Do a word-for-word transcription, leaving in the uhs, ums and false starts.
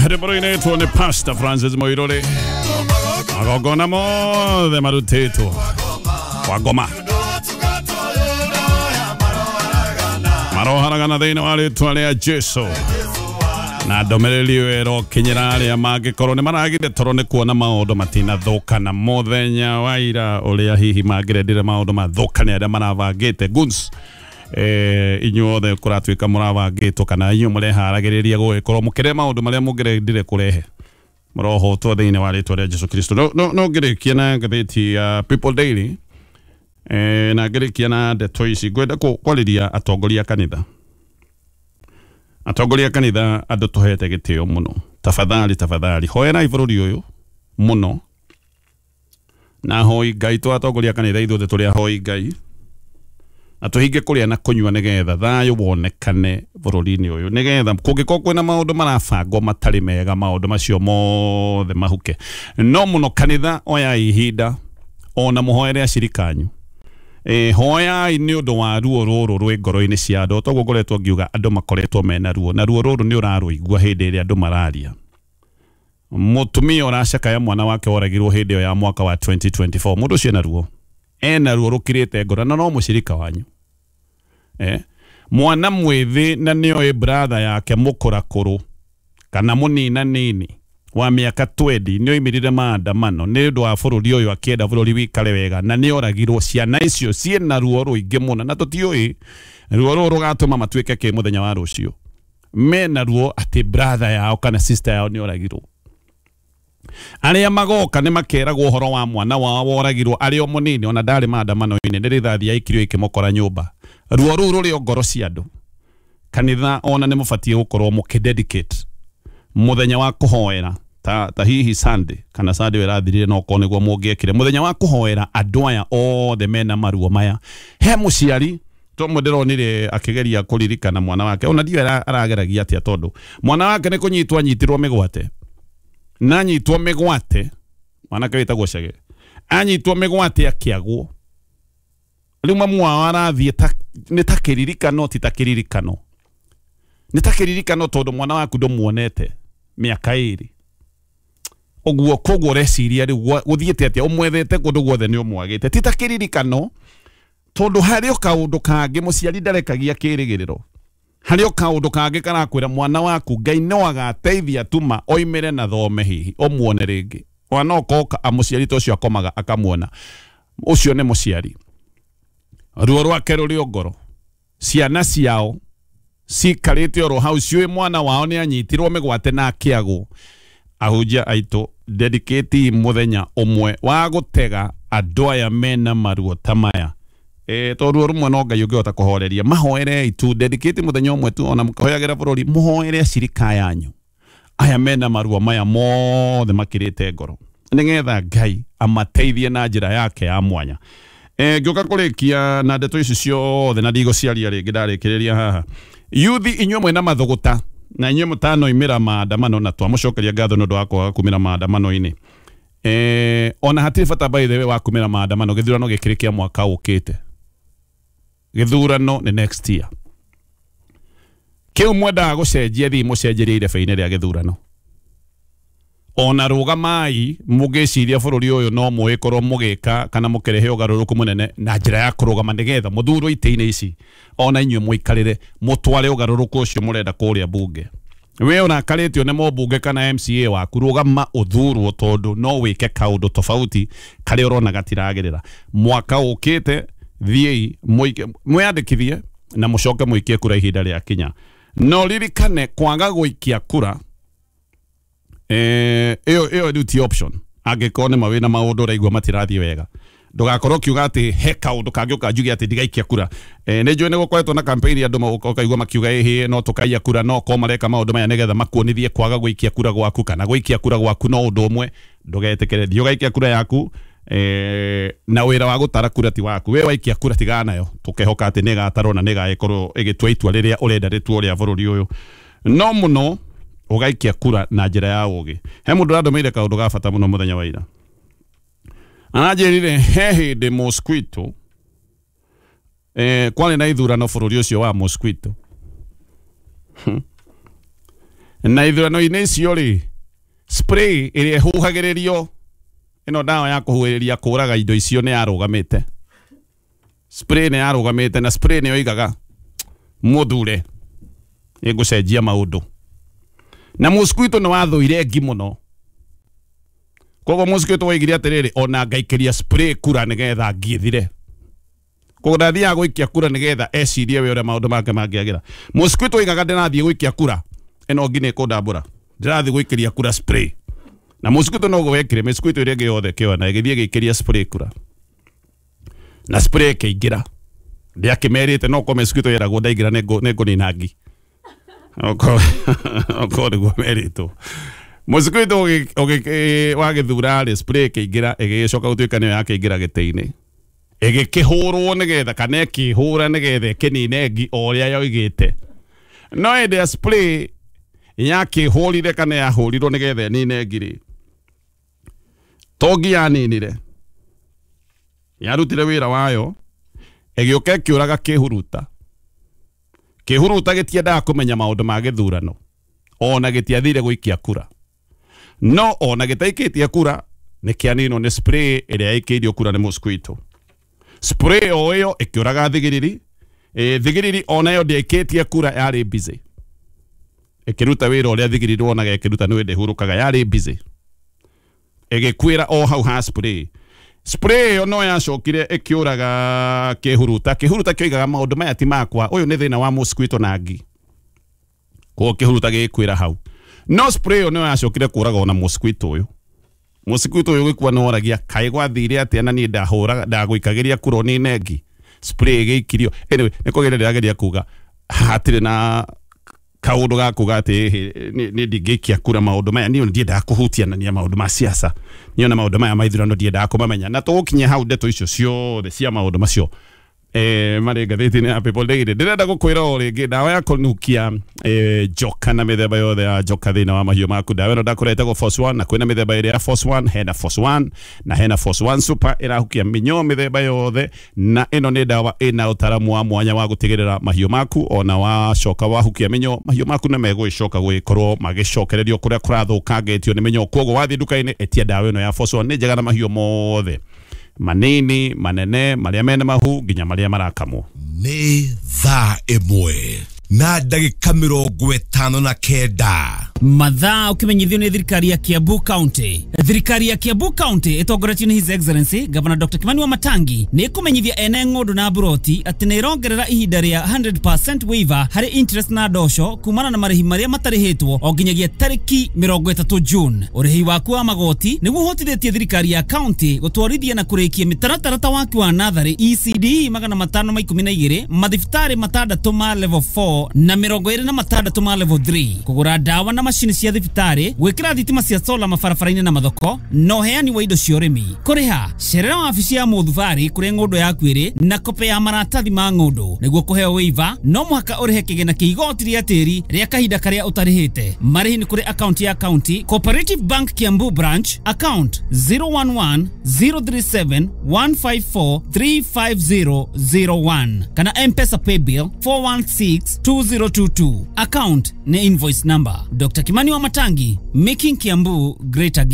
Rwĩmbo rũinĩtwo nĩ Pastor Francis Muiruri, magongona mothe marutĩtwo kwa ngoma maroharagana thĩinĩ wa rĩtwa rĩa Jesu. Na ndũmĩrĩri ĩyo ĩrokinyĩra arĩa mangĩkorwo nĩ maragire toro nĩ kuona maũndũ matinathũkana mũthenya wa ira, ũrĩa hihi mangĩrendire maũndũ mathũkane arĩa marabangĩte guns. Eh, inyuothe kũratuĩka mũrabangĩtwo kana inyuĩ mũreharagĩrĩria gũgĩkorwo mũkĩrehe maũndũ marĩa mũngĩrendire kũrehe, mũrohotwo thĩinĩ wa rĩtwa rĩa Jesu Kristo. No, no, no ngĩrĩkia na ngathĩti ya People Daily, eh, na ngĩrĩkia na ndeto ici ngwenda kwarĩria atongoria a kanitha. Atongoria a kanitha andũ tũhete gĩtĩo mũno, tafadhali tafadhali hoerai bũrũri ũyũ mũno, na hoi Ngai. Tũ atongoria a kanitha ithuothe tũrĩ ahoi Ngai, na tũhinge kũrĩa na kũnyua nĩgetha thayũ wonekane bũrũri-inĩ ũyũ, nĩgetha kũngĩkorwo kwĩna maũndũ marabangwo matarĩ mega, maũndũ macio mothe mahuke. No mũno kanitha oyai ihinda ona mũhoere acirika anyu. E, hoyai nĩ ũndũ wa ruo rũrũ rwĩ ngoro-inĩ cia andũ. Toguo ngoretwo ngiuga andũ makoretwo mena ruo, na ruo rũrũ nĩ ũrarũigua hĩndĩ ĩrĩa andũ mararia. Mũtumia ũracakaya mwana wake woragirwo hĩndĩ ĩyo ya mwaka wa twenty twenty-four, mũndũ ũcio ena ruo, ena ruo rũkirĩte ngoro, na no mũcirika wanyu. Eh, mwana mwĩthĩ na nĩoĩ brother yake mũkũrakũrũ kana mũnina nini wa mĩaka twenty nĩoimĩrire maandamano nĩ ũndũ wa bũrũri ũyũ, akĩenda bũrũri wikare wega, na nĩoragirwo. Ciana icio ciĩna ruo rũingĩ mũno, na tũtiũĩ ruo rũrũ rũgatũma matuĩke kĩ mũthenya wa rũciũ. Mena ruo atĩ brother yao kana sister yao nĩoragirwo. Arĩa magoka nĩ makeragwo ũhoro wa mwana wao woragirwo arĩ o mũnini, ona ndarĩ maandamano-inĩ, nĩ rithathi yaikirio ĩkĩmũkora nyũmba. Ruo rũu rũrĩ o ngoro cia andũ. Kanitha ona nĩ mũbatiĩ gũkorwo mũkĩdedicate mũthenya wa kũhoera ta, ta hihi Sunday kana Sunday ĩrathirire, no korwo nĩguo mũngĩekire mũthenya wa kũhoera andũ aya othe mena maruo maya. He mũciari tomwe ndĩronire akĩgeria kũririkana mwana wake, ona ndiũĩ arageragia atĩa, tondũ mwana wake nĩ kũnyitwo anyitirwo mĩgwate, na anyitwo mĩgwate, mwanake wĩtagwo Chege, anyitwo mĩgwate akĩagwo. Rĩu mamu wao arathiĩ nĩ ta kĩririkano, ti ta kĩririkano, nĩ ta kĩririkano tondũ mwana waku ndũmuonete mĩaka ĩrĩ ũguo, koguo ũreciria rĩu gũthiĩte atĩa, ũmwethete kũndũ guothe nĩ ũmwagĩte. Ti ta kĩririkano tondũ harĩ o kaũndũ kangĩ mũciari ndarekagia kĩrĩgĩrĩro, harĩ o kaũndũ kangĩ karakwĩra mwana waku Ngai no agateithia tuma oimĩre na thome hihi ũmuone rĩngĩ. Ona no koka mũciari ta ũcio akomaga akamuona, ũcio nĩ mũciari. Ruo rwake rũrĩ o ngoro, ciana ciao cikarĩte oro hau ciũĩ mwana wao nĩ anyitirwo mĩgwate na akĩagwo. Ahunjia aitũ, dedicate mũthenya ũmwe wa gũtega andũ aya mena maruo ta maya. E, to ruo rũmwe no Ngai ũngĩhota kũhoreria. Mahoerei tu, dedicate mũthenya ũmwe tu, ona mũkĩhoyagĩra bũrũri, mũhoere acirika yanyu aya mena maruo maya mothe makĩrĩte ngoro, nĩgetha Ngai amateithie na njĩra yake ya mwanya. E, ngĩũka kũrĩkia na ndeto ici ciothe na ndigũciaria rĩngĩ, ndarĩkĩrĩria haha. Yuthi inyuĩ mwĩna mathũgũta na inyuĩ mũtanoimĩra maandamano, na twamũcokeria ngatho nĩ ũndũ wa kwaga kumĩra maandamano-inĩ. Eh, ona hatirĩ bata by the way wa kumĩra maandamano, gĩthurano gĩkĩrĩ kĩa mwaka ũkĩte, gĩthurano nĩ next year. Kĩu mwendaga gũcenjia, thiĩ mũcenjerie irebe-inĩ rĩa gĩthurano. Ona rũgamai mũgĩciria bũrũri ũyũ no mũgĩkorwo mũgĩka kana mũkĩrehe ũgarũrũku mũnene na njĩra ya kũrũgama nĩgetha mũthurwo itĩ-inĩ ici, ona inyuĩ mũikarĩre mũtware ũgarũrũku ũcio mũrenda kũrĩa bunge. We ũrakarĩtio nĩ mũmbunge kana M C A waku, rũgama ũthurwo tondũ no wĩke kaũndũ tofauti karĩa ũrona gatiragĩrĩra. Mwaka ũkĩte thiĩi mwĩyandĩkithie na mũcoke mũikie kura ihinda rĩakinya. No ririkane kwaga gũikia kura eh ĩyo ĩyo rĩu ti option. Angĩkorwo nĩ mawĩna maũndũ ũraigua matirathiĩ wega, ndũgakorwo ũkiuga atĩ he kaũndũ kangĩũka njuge atĩ ndigaikia kura. Eh, nĩ njũĩ nĩ gũkoretwo na campaign andũ ũkaigua makiuga ĩhĩ no tũkaiya kura, no korwo mareka maũndũ maya nĩgetha makuonithie kwaga gũikia kura gwaku kana gũikia kura gwaku no ũndũ ũmwe. Ndũgetĩkĩre, thiĩ ũgaikia kura yaku. Eh, na wĩra wa gũtara kura ti waku, we waikia kura tigana nayo, tũkehoka atĩ nĩĩgatarwo na nĩĩgagĩkorwo ĩgĩtua itua rĩrĩa ũrenda rĩtuo rĩa bũrũri ũyũ. No mũno ũgaikia kura na njĩra ya ũgĩ. He mũndũ ũrandũmĩire kaũndũ ga bata mũno mũthenya wa ira, aranjĩrire he hĩndĩ Mosquito, eh, kwarĩ na ithurano bũrũri ũcio wa Mosquito. Na ithurano-inĩ icio rĩ, spray ĩrĩa ĩhuhagĩrĩrio ĩno ndawa ya kũhuhĩrĩria kũraga indo icio nĩ yarũgamĩte. Spray nĩ yarũgamĩte na spray nĩ yoigaga mũthure ĩgũcenjia maũndũ. Na mosquito nĩ wathũire ngi mũno. Koguo mosquito woigire atĩrĩrĩ, ona ngaikĩria spray kura nĩgetha ngi ĩthire. Koguo ndathiaga gũikia kura nĩgetha ecirie we ũrĩa maũndũ make mangĩagĩra. Mosquito oigaga ndĩrathiĩ gũikia kura ĩno ngi nĩ ĩkũndambũra, ndĩrathiĩ gũikĩria kura spray. Na mosquito noguo wekire, mosquito ĩrĩa ĩngĩ yothe ĩkĩona ĩgĩthiĩ ĩgĩikĩria spray kura na spray ĩkĩingĩra. Ndĩakĩmerĩte no korwo mosquito yeragwo ndaingĩra nĩ ngũnina ngi, okorwo nĩguo merĩtwo. Mosquito wagĩthura rĩ, spray ĩkĩingĩra ĩgĩcoka gũtuĩka nĩyo yakĩingĩra gĩtĩ-inĩ, ĩgĩkĩhũrwo nĩgetha kana ĩkĩhũra nĩgetha ĩkĩnine ngi o ũrĩa yoigĩte. No hĩndĩ ya spray yakĩhũrire kana yahũrirwo nĩgetha ĩnine ngi rĩ, to ngi yaninire, yarutire wĩra wayo, ĩgĩũka ĩkĩũraga kĩhuruta. Kĩhuruta gĩtiendaga kũmenya maũndũ ma gĩthurano, ona gĩtiathire gũikia kura. No ona gĩtaikĩtie kura nĩ kĩaninwo nĩ spray ĩrĩa ĩikĩirio kura nĩ mosquito. Spray o ĩyo ĩkĩũraga thigiriri. E, thigiriri ona ĩyo ndĩaikĩtie kura, yarĩ busy ĩkĩruta wĩra ũrĩa thigiriri wonaga ĩkĩruta nĩ hĩndĩ ĩhurũkaga, yarĩ busy ĩgĩkuĩra o hau ha spray. Spray ĩyo no yacokire ĩkĩũraga kĩhuruta. Kĩhuruta kĩoigaga maũndũ maya ti makwa, ũyũ nĩ thĩna wa mosquito na ngi, koguo kĩhuruta gĩgĩkuĩra hau. No spray ĩyo no yacokire kũraga ona mosquito ũyũ. Mosquito ũyũ gĩkua nĩ woragia kaĩ gwathire atĩa na niĩ ndahũraga ndagũikagĩria kura nĩ ngi, spray ĩgĩikirio. Anyway, nĩ kũgeria ndĩrageria kuga hatirĩ na kaũndũ ga kuga atĩ nĩ ndingĩikia kura maũndũ maya. Niĩ ndiendaga kũhutianania maũndũ ma siasa, niĩ ona maũndũ maya ma ithurano ndiendaga kũmamenya. Na tũgũkinya hau ndeto icio ciothe cia maũndũ macio eh marĩ ngathĩti-inĩ ya People Daily. Ndĩrenda gũkwĩra o rĩngĩ ndawa ya kũnukia eh, njoka na mĩthemba yothe ya njoka thĩinĩ wa mahiũ maku. Ndawa ĩno ndakũra ĩtagwo Force One, na kwĩna mĩthemba ĩrĩ ya Force One, hena Force One na hena Force One Super ĩrahukia mĩnyoo mĩthemba yothe. Na ĩno nĩ ndawa ĩna ũtaramu wa mwanya wa gũtigĩrĩra mahiũ maku ona wacoka wahukia mĩnyoo mahiũ maku nĩ megũgĩcoka gũgĩkorwo magĩcokererio kũrĩa kũrathũkangĩtio nĩ mĩnyoo. Koguo wathiĩ nduka-inĩ ĩtia ndawa ĩno ya Force One, nĩ njega na mahiũ mothe manini manene marĩa mena mahu nginya marĩa marakamwo. Nĩ thaa ĩmwe na ndagĩka mĩrongo ĩtano na kenda. Mathaa ukimenyithio nĩ thirikari ya Kiambu County. Thirikari ya Kiambu County ĩtongoretio nĩ His Excellency Governor Doctor Kimani Wamatangi nĩ ĩkũmenyithia ene ng'ũndũ na mburoti atĩ nĩ ĩrongerera ihinda rĩa hundred percent waiver harĩ interest na ndosho kumana na marĩhi marĩa matarĩhĩtwo o nginyagia tarĩki mĩrongo ĩtatũ June. Ũrĩhi waku wa magoti nĩguo ũhotithĩtie thirikari ya county gũtwarithia na kũrĩkia mĩtaratara ta waki wa natharĩ E C D magana matano ma ikũmi na igĩrĩ, mathibitarĩ matandatũ ma level four na mĩrongo ĩrĩ na matandatũ ma level three, kũgũra ndawa na macini cia thibitarĩ, gwĩkĩra thitima cia sola mabarabara-inĩ na mathoko, na ũheani wa indo cia ũrĩmi. Kũrĩha cerera wabici ya mũthubarĩ kũrĩa ng'ũndũ yaku ĩrĩ na kope ya maratathi ma ng'ũndũ. Nĩguo kũheo waiver no mũhaka ũrĩhe kĩgĩna kĩa igoti rĩa tĩri rĩa kahinda karĩa ũtarĩhĩte. Marĩhi nĩ kũrĩ akaunti ya county Cooperative Bank Kiambu branch account zero one one zero three seven one five four three five zero zero one kana M-Pesa paybill four one six two zero two two. Account ni invoice number. Doctor Kimani Wamatangi, making Kiambu great again.